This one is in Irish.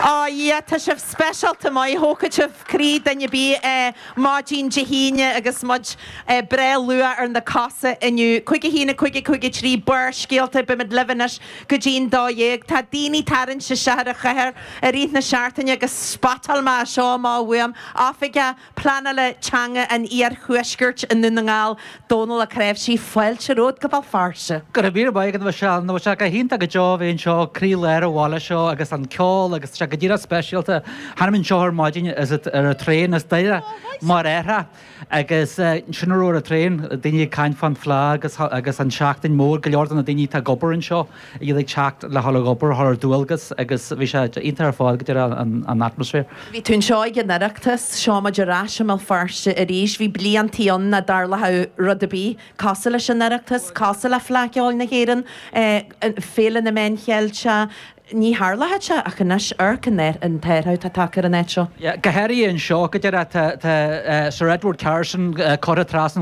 Á yeah, tá sibh speisialta maith, thógfadh sibh croí duine ar bith maidin Dé hAoine agus muid breá luath ar na cosa inniu. 5 1 5 5 3 Barrscéalta, beimid libh anois go dtí'n 12. Tá daoine tarraingt isteach ar an chathair i rith na seachtaine agus spotáil mé seo amach uaim, Oifigeach Pleanála Teanga an Iarthuaiscirt i nDún na nGall, Dónal Ó Cnáimhsí, fáilte romhat go Béal Feirste. Go raibh míle maith agat, a Mhichelle. Nó tá sé go hiontach go deo a bheith anseo, croí-lár an bhaile seo agus an ceol agus tá sé go díreach speisialta. Tháinig mé anseo ar maidin is ar an traein as Doire mar déarfá agus sin a raibh ar an traein, daoine ag caint fán Fleá agus agus an seachtain mór, go leor de na daoine atá ag obair anseo, iad ag teacht le dhul ag obair, thar ar dualgas agus bhí sé iontach ar fad go díreach an atmaisféar. Bhí tú anseo ag an Oireachtas, seo muid ar ais i mBéal Feirste arís. Bhí bliantaí ann nach dtarlódh rud ar bith cosúil leis an Oireachtas, cosúil le Fleadh Cheoil na hÉireann, Féile na Meán Cheilteach, ní tharlódh sé ach anois amharc an t-athrú atá tagtha ar an áit seo. Go háirithe anseo, go díreach, tá Sir Edward Carson curtha trasna.